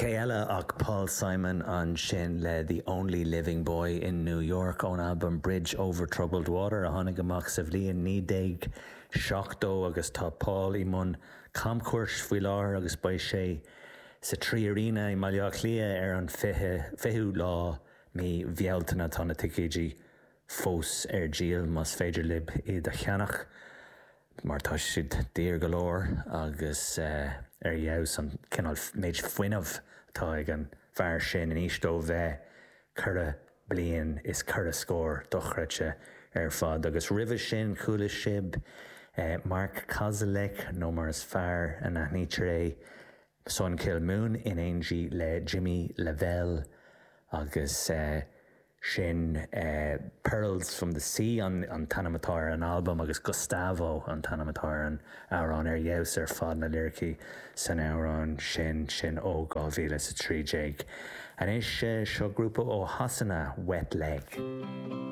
Cé eile ach Paul Simon ansin le The Only Living Boy in New York ón albam Bridge Over Troubled Water a tháinig amach sa bhliain 1970 agus tá Paul i mbun camchuairt faoi láthair agus beidh sé sa 3Arena i mBaile Átha Cliath ar an 20ú lá mí Bhealtaine. Tá na ticéidí fós ar díol más féidir libh iad a cheannach mar tá siad daor go leor agus ar fheabhas an cineál méid fuinnimh atá ag an bhfear sin in aois dó bheith ceithre bliain is ceithre scór, dochreidte ar fad. Agus roimhe sin chuala sibh Mark Kozelek nó mar is fearr a n-aithnítear é, Sun Kil Moon in éindí le Jimmy LaValle agus sin Pearls from the Sea an t-ainm atá ar an albam agus Gustavo an t-ainm atá ar an amhrán. Ar fheabhas ar fad na liricí san amhrán sin, sin ó 2013. Anois seo grúpa ó Shasana, Wet Leg.